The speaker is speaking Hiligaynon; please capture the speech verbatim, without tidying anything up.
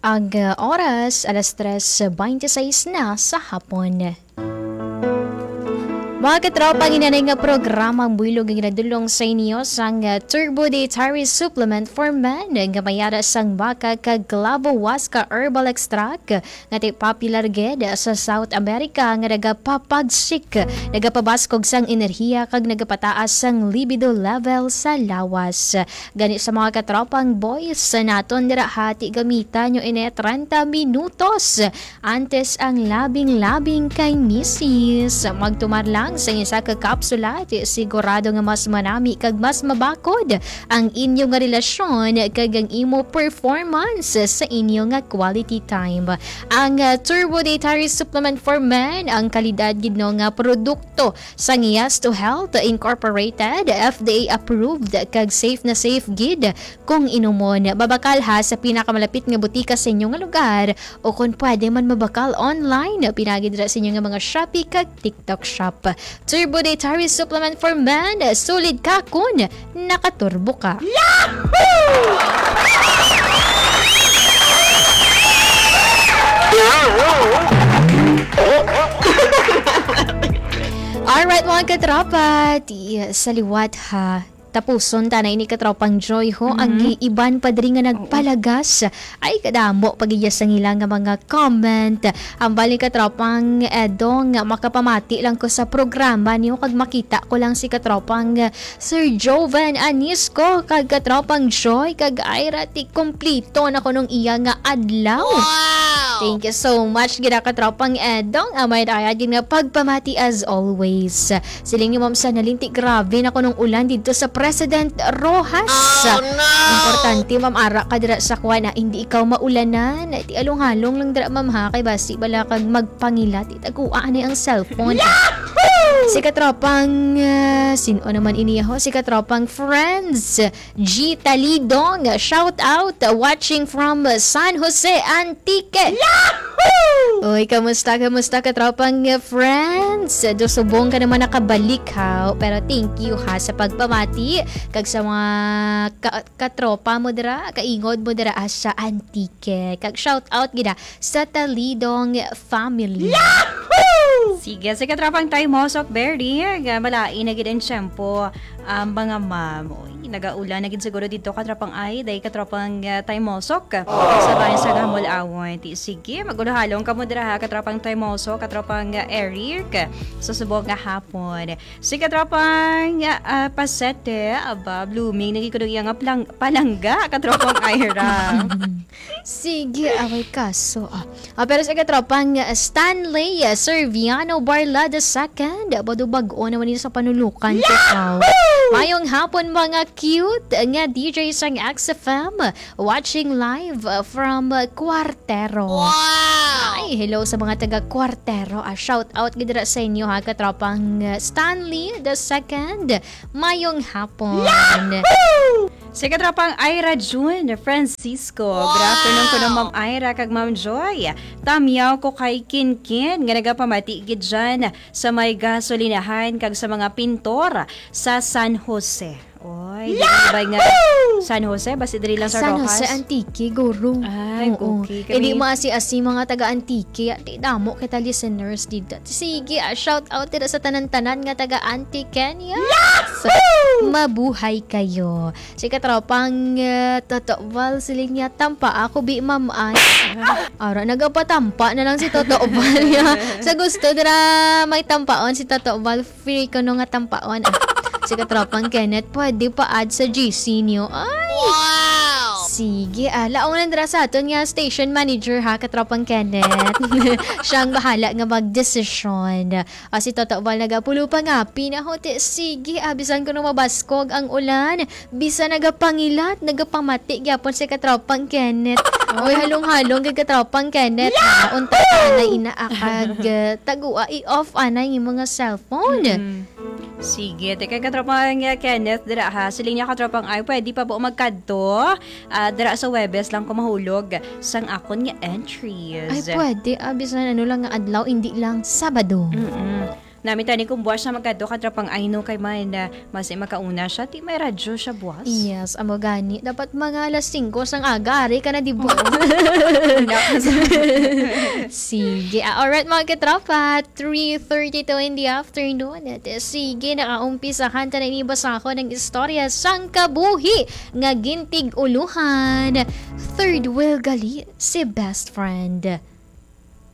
Ang, uh, oras, alas tres beintiseis na sa hapon. Mga katropa, ang inanay nga programa ang buylog nga ginadulong sa inyo sang, uh, Turbo Dietary Supplement for Men nga may ara sang baka kag clavo huasca herbal extract nga ti popular gid sa South America nga nagapapagsik, nagapabaskog sang enerhiya kag nagapataas sang libido level sa lawas. Gani sa mga katropang boys sa naton dira, hati gamita nyo ini treinta minutos antes ang labing-labing kay misis. Magtumar lang sa isa ka kapsula, ti sigurado nga mas manami kag mas mabakod ang inyo nga relasyon kag ang imo performance sa inyo nga quality time. Ang, ah, Turbo Dietary Supplement for Men, ang kalidad gid no nga produkto sang Yes to Health Incorporated, F D A approved kag safe na safe gid kung inumon. Mabakal ha sa pinakamalapit nga butika sa inyo nga lugar, o kung pwede man, mabakal online, pinagi dira sa inyo nga mga Shopee kag TikTok Shop. Turbo Dietary Supplement for Men, sulid ka kun nakaturbo ka. Alright, mga katropa, ti, sa liwat ha, tapuson ta na ini, katropang Joy, ho. Ang Mhm. gi-, iban pa diri nga Oo. nagpalagas. Ay, kadamo pa gid sang ila nga mga comment. Ang bali, katropang Edong, makapamati lang ko sa programa niyo kag makita ko lang si katropang, eh, Sir Joven Anisco kag katropang Joy kag Ira, ti kumplito na kuno ang iya nga adlaw. Wow! Thank you so much, gid, katropang Edong. Amay daya gid nga pagpamati as always. Siling ni Ma'am Sanalin, ti grabe na kunong ulan didto sa President Roxas. Oh, no! Importante, ma'am, ara ka dira sa kuan, ah, hindi ikaw maulanan. Ti along-halong lang dira, ma'am, ha, kay basi bala kag magpangilat, itagua na ang cellphone. Yahoo! Si katropang, ah, sin-o naman ini, ho? Si katropang Friends G Talidong, shout out, watching from San Jose, Antique. Yahoo! Uy, kamusta, kamusta, katropang Friends? Do subong ka naman nakabalik, ha? Pero thank you, ha, sa pagpamati kag sa mga ka-, katropa mo dira, kaingod mo dira, ah, sa Antique. Kag shout out gid, ah, sa Talidong family. Yahoo! Sige, sa katropang Tay Mosok Berry, nga malain na gid ang tiyempo, ah, mga ma'am. Uy, nagaulan na gid siguro dito, katropang Ay, day katropang, ah, Tay Mosok. Sa bayan sa Gamol Awon. Ti, sige, magulo-halong kamo dira, ha, katropang Tay Mosok, katropang, ah, Eric. Sa subong nga hapon. Si katropang, ah, Pasete, aba, blooming, nagikuno iya nga palang-, palangga, katropang Ira. Sige, away kaso. Ah, ah, pero sa katropang, ah, Stanley, ah, Serviano Barla the second, ah, bado bag-o naman yun sa panulukan ko, Yahoo! Mayong hapon, mga cute nga D J sang X F M, watching live, ah, from, ah, Cuartero. Wow! Ay, hello sa mga taga Cuartero. Ah, shout out gid dira sa inyo, ha, katropang, ah, Stanley the second. Mayong hapon. Yahoo! Si katropang Ira June Francisco. Wow! Good afternoon kuno, Ma'am Ira kag Ma'am Joy. Tamyaw ko kay Kinkin nga nagapamati gid dyan sa may gasolinahan kag sa mga pintor sa San Jose. Oy, di ba nga San Jose? Basi diri lang sa San Jose, Roxas? Antique, guro. Ay, Oo. okay. Kami Hindi maasi-asi mga taga Antique. Di damo kita listeners dito. Sige, ah, shout out dito sa tanan-tanan nga taga Antique, Kenya. Yahoo! Mabuhay kayo. Si katropang, eh, Toto Val, siling niya, "Tampa ako, bi, ma'am, ay." Ara, nagapatampa na lang si Toto Val niya. Sa gusto dira may tampaon si Toto Val, free ko no nga tampaon. Ah, si katropang Kenneth, pwede pa add sa G C niyo. Ay! Wow! Sige, ah, launan dira sa aton nga station manager, ha, katropang Kenneth. Siyang bahala nga magdesisyon. Ah, si Toto Val nagapulo pa nga, pinahuti. Sige, ah, bisan kuno mabaskog ang ulan, bisan nagapangilat, nagapamati gyapon si katropang Kenneth. Oy, halong-halong kay katropang Kenneth, ha? Unta anay ina akag, ah, tagua, i-off anay yung mga cellphone. Mm. Sige, teka, katropang, ah, Kenneth, dira, ha. Siling niya, katropang, ay, pwede pa po magkadto. Ah, dira sa Huwebes lang ko mahulog sang akon nga entries. Ay, pwede. Ah, bisan ano lang nga adlaw, hindi lang Sabado. Mm-mm. Nami tani kung buwas siya magkadto ka tropang Aino kay man, ah, mas makauna siya, ti may radyo siya buwas. Yes, amo gani. Dapat mga alas singko sang aga, ari ka na, di ba? Sige. Ah, alright, mga katropa. Three thirty-two in the afternoon. At, eh, sige, nakaumpisahan ta na ini basahon ang istorya sang kabuhi nga gintig-uluhan. Third wheel gali si best friend.